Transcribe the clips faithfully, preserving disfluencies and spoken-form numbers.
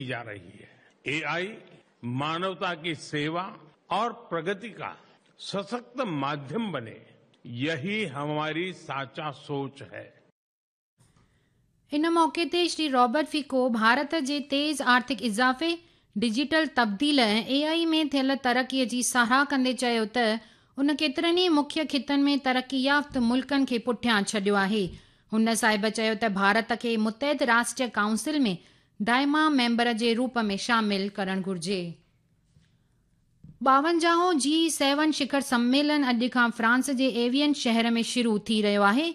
जा रही है। एआई मानवता की सेवा और प्रगति का सशक्त माध्यम बने, यही हमारी साचा सोच है। इन मौक़े ते श्री रॉबर्ट फिको भारत जे तेज़ आर्थिक इज़ाफ़े, डिजिटल तब्दील ऐं एआई में थियल तरक़ीअ जी सराह कंदे चयो त उन केतिरनि ई मुख्य ख़ितनि में तरक़ी याफ़्त मुल्कनि खे पुठियां छॾियो आहे। हुन साहिब चयो त भारत खे मुतहद राष्ट्र काउंसिल में दाइमा मेंबर जे रूप में शामिल करणु घुरिजे। ॿावंजाहों जी सेवन शिखर सम्मेलन अॼु खां फ्रांस जे एवियन शहर में शुरू थी रहियो आहे।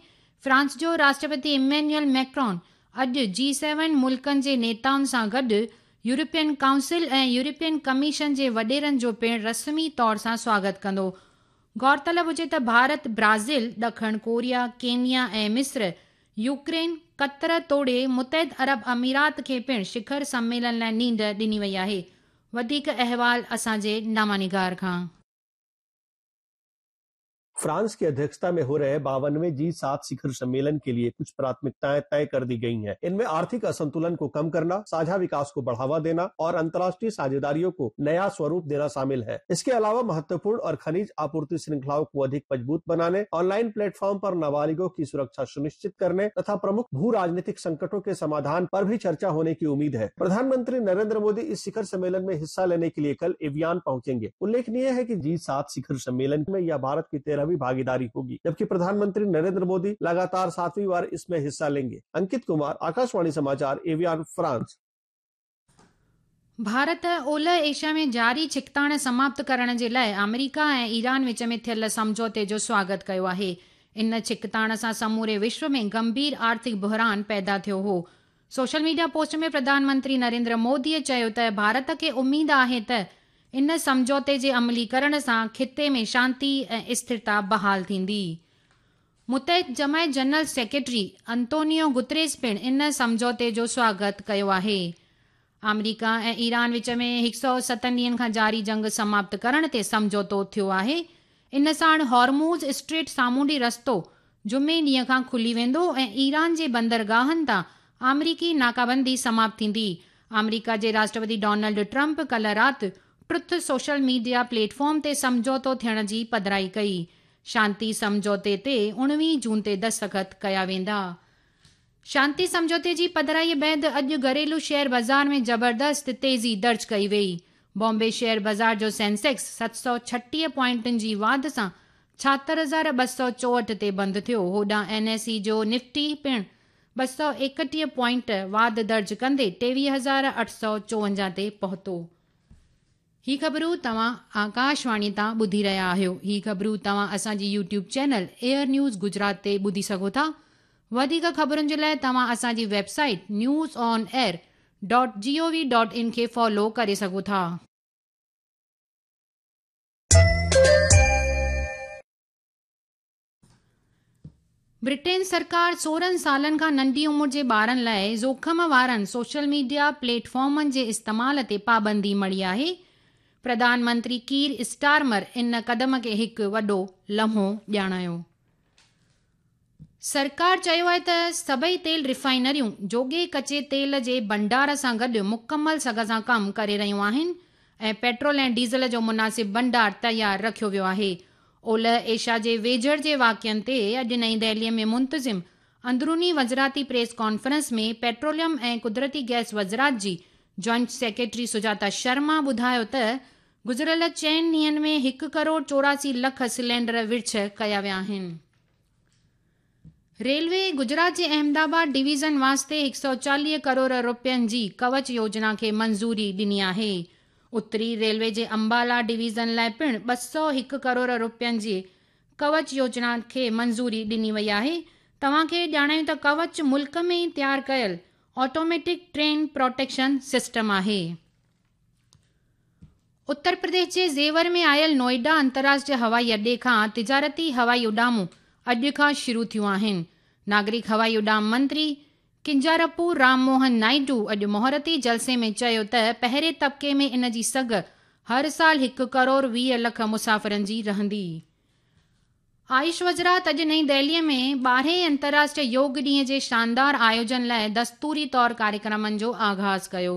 फ्रांस जो राष्ट्रपति इमैनुअल मैक्रॉन अॼु जी सेवन मुल्कनि जे नेताउनि सां गॾु यूरोपियन काउंसिल ऐं यूरोपियन कमीशन जे वॾेरनि जो पिणु रस्मी तौर सां स्वागत कंदो। गौरतलब हुजे त भारत, ब्राज़ील, ॾखण कोरिया, केन्या ऐं मिस्र, यूक्रेन, क़तर तोड़े मुतहद अरब अमीरात खे पिणु शिखर सम्मेलन लाइ नींड ॾिनी वई आहे। वधीक अहवाल असांजे नामानिगार खां। फ्रांस की अध्यक्षता में हो रहे बावनवे जी सात शिखर सम्मेलन के लिए कुछ प्राथमिकताएं तय कर दी गई हैं। इनमें आर्थिक असंतुलन को कम करना, साझा विकास को बढ़ावा देना और अंतर्राष्ट्रीय साझेदारियों को नया स्वरूप देना शामिल है। इसके अलावा महत्वपूर्ण और खनिज आपूर्ति श्रृंखलाओं को अधिक मजबूत बनाने, ऑनलाइन प्लेटफॉर्म पर नाबालिगों की सुरक्षा सुनिश्चित करने तथा प्रमुख भू राजनीतिक संकटों के समाधान पर भी चर्चा होने की उम्मीद है। प्रधानमंत्री नरेंद्र मोदी इस शिखर सम्मेलन में हिस्सा लेने के लिए कल एवियान पहुंचेंगे। उल्लेखनीय है कि जी सात शिखर सम्मेलन में यह भारत की तेरहवीं भागीदारी होगी, जबकि प्रधानमंत्री नरेंद्र मोदी लगातार सातवीं बार इसमें हिस्सा लेंगे। अंकित कुमार, आकाशवाणी समाचार, एवियान, फ्रांस। भारत ओलह एशिया में जारी छिकताण समाप्त करण जे लाइ आमेरिका ऐं ईरान विच में थियल सम्झौते जो स्वागत कयो आहे। इन छिकताण सां समूरे विश्व में गंभीर आर्थिक बहरान पैदा थियो हो। सोशल मीडिया पोस्ट में प्रधानमंत्री नरेंद्र मोदीअ चयो त भारत खे उम्मीद आहे त इन सम्झौते जे अमलीकरण सां ख़िते में शांति ऐं स्थिरता बहाल थींदी। मुतहद जमायत जनरल सेक्रेटरी अंतोनियो गुतरेस पिणु इन सम्झौते जो स्वागत कयो आहे। आमेरिका ऐं ईरान विच में हिकु सौ सतनि ॾींहनि खां जारी जंग समाप्त करण ते सम्झौतो थियो आहे। इन साण हॉर्मूज़ स्ट्रेट सामुंडी रस्तो जुमे ॾींहं खां खुली वेंदो ऐं ईरान जे बंदरगाहनि तां आमेरिकी नाकाबंदी समाप्त थींदी। आमेरिका जे राष्ट्रपति डोनाल्ड ट्रंप कल्ह राति ट्रुथ सोशल मीडिया प्लेटफॉर्म ते सम्झौतो थियण जी पधराई कई। शांति सम्झौते ते उणिवीह जून ते दस्तख़त कया वेंदा। शांति सम्झौते जी पधराई बाद अॼु घरेलू शेयर बाज़ार में ज़बरदस्त तेज़ी दर्ज कई वई। बॉम्बे शेयर बाज़ार जो सेंसेक्स सत सौ छटीह पॉइंटनि जी वाध सां छाहतरि हज़ार ॿ सौ चोहठि ते बंदि थियो। होॾां एन एस ई जो निफ्टी पिणु ॿ सौ एकटीह पॉइंट वाध दर्ज कंदे टेवीह हज़ार अठ सौ चोवंजाह ते पहुतो। ही ख़बरूं तव्हां आकाशवाणी तां ॿुधी रहिया आहियो। ही ख़बरूं तव्हां असांजी YouTube channel air news Gujarat ते ॿुधी सघो था। वधीक ख़बरुनि जे लाइ तव्हां असांजी website news on air dot G O V dot in खे फॉलो करे सघो था। ब्रिटेन सरकार सोरहं सालनि खां नंढी उमिरि जे ॿारनि लाइ ज़ोखम वारनि सोशल मीडिया प्लेटफॉर्मनि जे इस्तेमाल ते पाबंदी मढ़ी आहे। प्रधानमंत्री कीर स्टारमर इन कदम खे हिकु वॾो लम्हो ॼाणायो। सरकार चयो आहे त सभई तेल रिफाइनरियूं जोॻे कचे तेल जे भंडार सां गॾु मुकमल सघ सां कमु करे रहियूं आहिनि ऐं पेट्रोल ऐं डीज़ल जो मुनासिब भंडार तयारु रखियो वियो आहे। ओलह एशिया जे वेझड़ जे वाक़िअनि ते अॼु नई दिल्लीअ में मुंतज़िम अंदरूनी वज़राती प्रेस कॉन्फ्रेंस में पेट्रोलियम ऐं कुदरती गैस वज़रात जी जॉइंट सेक्रेटरी सुजाता शर्मा ॿुधायो त गुज़िरियल चइनि ॾींहंनि में हिकु करोड़ चौरासी लख सिलेंडर विर्छ कया विया आहिनि। रेलवे गुजरात जे अहमदाबाद डिवीज़न वास्ते हिकु सौ चालीह करोड़ रुपयनि जी कवच योजना खे मंज़ूरी ॾिनी आहे। उत्तरी रेलवे जे अंबाला डिवीज़न लाइ पिणु ॿ सौ हिकु करोड़ रुपयनि जी कवच योजना खे मंज़ूरी ॾिनी वई आहे। तव्हांखे ॼाणायूं त कवच मुल्क में ई तयारु कयल ऑटोमेटिक ट्रेन प्रोटेक्शन सिस्टम आहे। उत्तर प्रदेश जे ज़ेवर में आयल नोएडा अंतर्राष्ट्रीय हवाई अड्डे खां तिजारती हवाई उॾामूं अॼु खां शुरू थियूं आहिनि। नागरिक हवाई उॾाम मंत्री किंजारपू राम मोहन नायडू अॼु मुहूर्ती जलसे में चयो त पहिरें तबिके में इन जी सघ हर साल हिकु करोड़ वीह लख मुसाफ़िरनि जी रहंदी। आयुष वज़रात अॼु नई दिल्लीअ में ॿारहें अंतर्राष्ट्रीय योग ॾींहं जे शानदार आयोजन लाइ दस्तूरी तौर कार्यक्रमनि जो आग़ाज़ कयो।